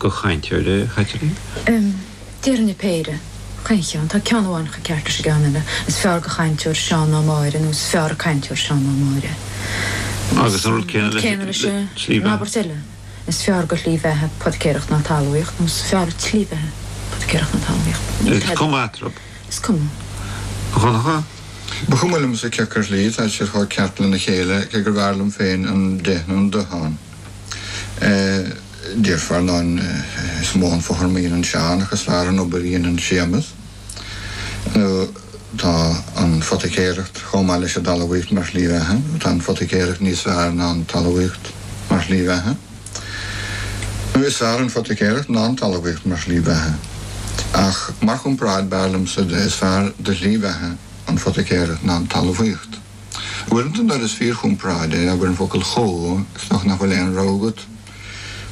do chainteoir é, a Chaitlín? Déarfainn péire, chaon cheann. Tá ceann amháin chomh ceart leis an gceann eile. Is fearr do chainteoir Seán ná Máire nó is fearr an cainteoir Seán ná Máire. Agus an rud céanna leis an tslí bheatha. An abairt eile, is fearr do shlí bheatha poiticéireacht ná talmhaíocht nó is fearr an tslí bheatha poiticéireacht ná talmhaíocht. Is cuma eatarthu. Is cuma. A Dhonncha? Ba chuma liomsa cé acu slí, tá siad chomh ceart lena chéile, cé gurbh fhearr liom féin an de nó an do ann. Déarfá, ar ndóin, is mó an fothram a dhéanann Seán ach is fearr an obair a dhéanann Séamus. Nó tá an phoiticéireacht chomh maith leis an dtalmhaíocht mar shlí bheatha, nó tá an phoiticéireacht níos fearr ná an talmhaíocht mar shlí bheatha. Nó is fearr an phoiticéireacht ná an talmhaíocht mar shlí bheatha. Ach mar chomparáid, b'fhearr liomsa de is fearr do shlí bheatha an phoiticéireacht ná an talmhaíocht. Uaireanta nuair is fíorchomparáid é, abair an focal chomh, is dócha nach bhfuil aon rogha agat.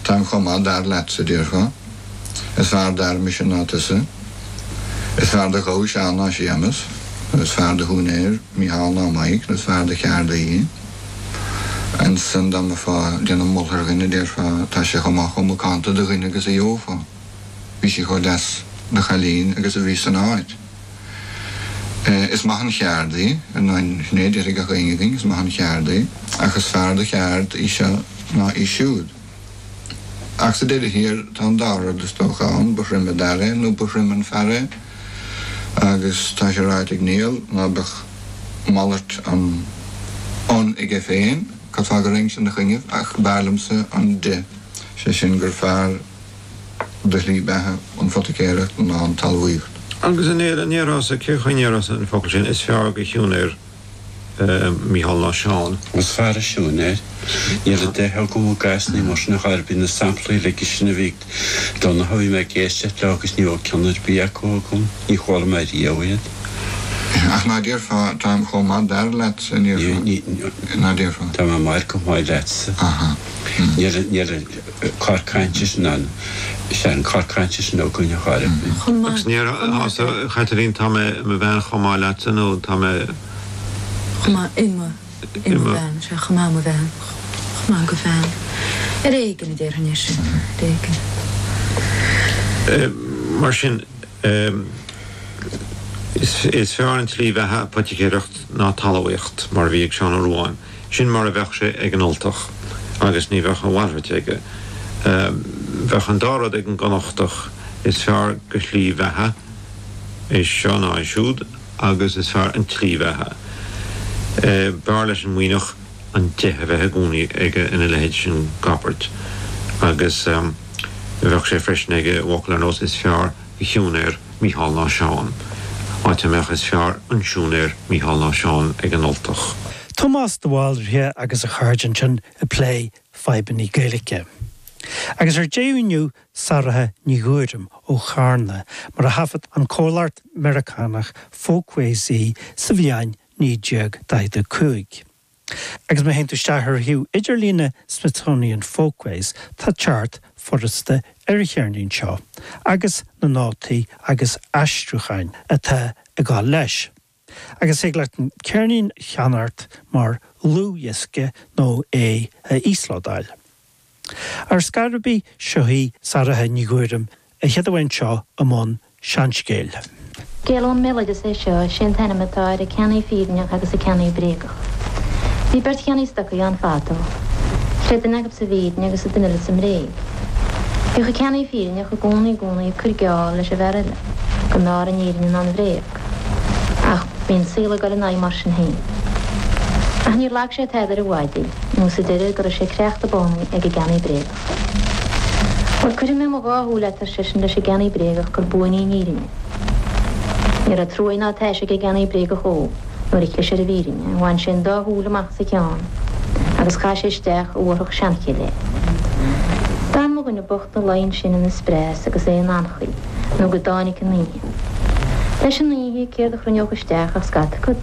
Táim chomh maith d'fhear leatsa, déarfá. Is fearr d'fhear mise ná tusa. Is fearr do ghabha Seán ná Séamus. Nó is fearr do shiúinéir Mícheál ná Mike, nó is fearr do cheardaí. Ansan dá mbeifeá ag déanamh moltha ar dhuine, déarfá, tá sé chomh maith chomh macánta de dhuine agus a gheofá. Bhí sí chomh deas de chailín agus a bhí san áit. Is maith an cheard í, ar ndóin, sin é a déarfaidh gach éinne againn, is maith an cheard í, ach is fearr do cheard í seo ná í siúd. Ach sa deireadh thiar, tá an dá rud is dócha ann, ba throime d'fhear é nó ba throime an fear é, agus tá sé ráite ag Niall ná beadh malairt an an aige féin, cad fáth go raghainn ina choinnibh, ach b'fhearr liomsa an de, sé sin gur fearr. do shlí beatha an phoiticéireacht ná an talmhaíocht. Agus a Néill, an ndéarfása, cén chaoi a ndéarfása an focal sin, is fearr do shiúinéir Mícheál ná Seán? Is fearr an siúinéir. Níl an de agam i gcás ní mar sin a chor ar bith na samplaí uilig sin a bhí ag Donncha, bhí mé ag éisteacht leo agus ní raibh ceann ar bith acu agam, ní chuala mé riamh iad. Ach ná déarfá, táim chomh maith d'fhear leatsa, ní déarfá, ná déarfá. Tá mé maith chomh maith leatsa. Aha. Níl, níl. cor cainte sin ann. Is é an cor cainte sin againn a chor ar bith. Agus an ndéarfása, a Chaitlín, tá mé i mo bhean chomh maith leatsa nó tá mé. Chomh maith i mo, i mo bhean, sea, chomh maith i mo bhean, chomh maith do bhean. Ar éigean a déarfainn é sin, ar éigean. Mar sin, is fearr an tslí bheatha poiticéireacht ná talmhaíocht, mar a bhí ag Seán Ó Ruadháin. Sin mar a bheadh sé ag an Ultach agus ní bheadh a mhalrait aige. Bheadh an dá rud ag an gConnachtach, is fearr do shlí bheatha é seo ná é siúd agus is fearr an tslí bheatha. B'fhearr leis an Muimhneach an de a bheith i gcónaí aige ina leithéid sin d'abairt agus bheadh sé freisin aige i bhfocal ar nós is fearr do shiúinéir Mícheál ná Seán, áit a mbeadh is fearr an siúinéir Mícheál ná Seán ag an Ultach. Tomás de Bhaldraithe agus a chairde ansin ag plé fadhbanna Gaeilge. Agus ar deireadh inniu Saratha Ní Ghuairim ó Charna mar a thaifead an comhlacht Meiriceánach Folkways í sa bhliain 1945. Agus má théann tú isteach ar shuíomh idirlíne Smithsonian Folkways tá teacht furasta ar an cheirnín seo agus na nótaí agus aistriúcháin atá ag dul leis. Agus thig leat an ceirnín a cheannacht mar dhlúthdhiosca nó é a íoslódáil. Ar scor ar bith, seo í Saratha Ní Ghuairim a chéad amháin seo i mbun seanscéil. Scéal ón mbéaloideas é seo, is é an t-ainm atá air An Ceannaí Fírinneach agus an Ceannaí Bréagach. Bhí beirt cheannaí stocaí ann fadó. Chreid duine acu sa bhfírinne agus an duine eile sa mbréig. Bhíodh an ceannaí fírinneach i gcónaí i gcónaí ag cur geall leis an bhfear eile go mb'fhearr an fhírinne ná an bhréag. Ach bhí an saol ag dul ina aghaidh mar sin féin. Ach níor lag sé tada ar an mhaide nó sa deireadh go raibh sé creachta bánaí ag an gceannaí bréagach. Bhuel, cuirfidh mé mo dhá shúil leat, ar seisean leis an gceannaí bréagach, gur buan í an fhírinne. Ní raibh truaí ná taise ag an gceannaí bréagach dhó nuair a chlis ar an bhfírinne, bhain sé an dá shúil amach as a cheann agus chaith sé isteach i bhfuarthach seanchille é. D'fhan mo dhuine bocht 'na luí ansin ina spreas agus é in anchaoi nó go dtáinig an oíche. Leis an oíche, céard a chruinneodh isteach ach scata cat,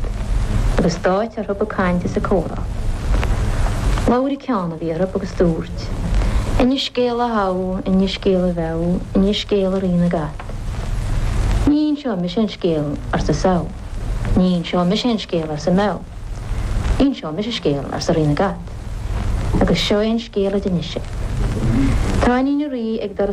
agus d'áit orthu ag caint is ag comhrá. Labhair an ceann a bhí orthu agus dúirt, Inis scéal a Shamh, inis scéal a Mheabh, inis scéal a Rí na gCat. Ní inseoidh mise an scéal, arsa Samh. Ní inseoidh mise an scéal, arsa Meabh. Inseoidh mise scéal, arsa Rí na gCat. Agus seo é an scéal a d'inis sé. Tá iníon an Rí ag doras.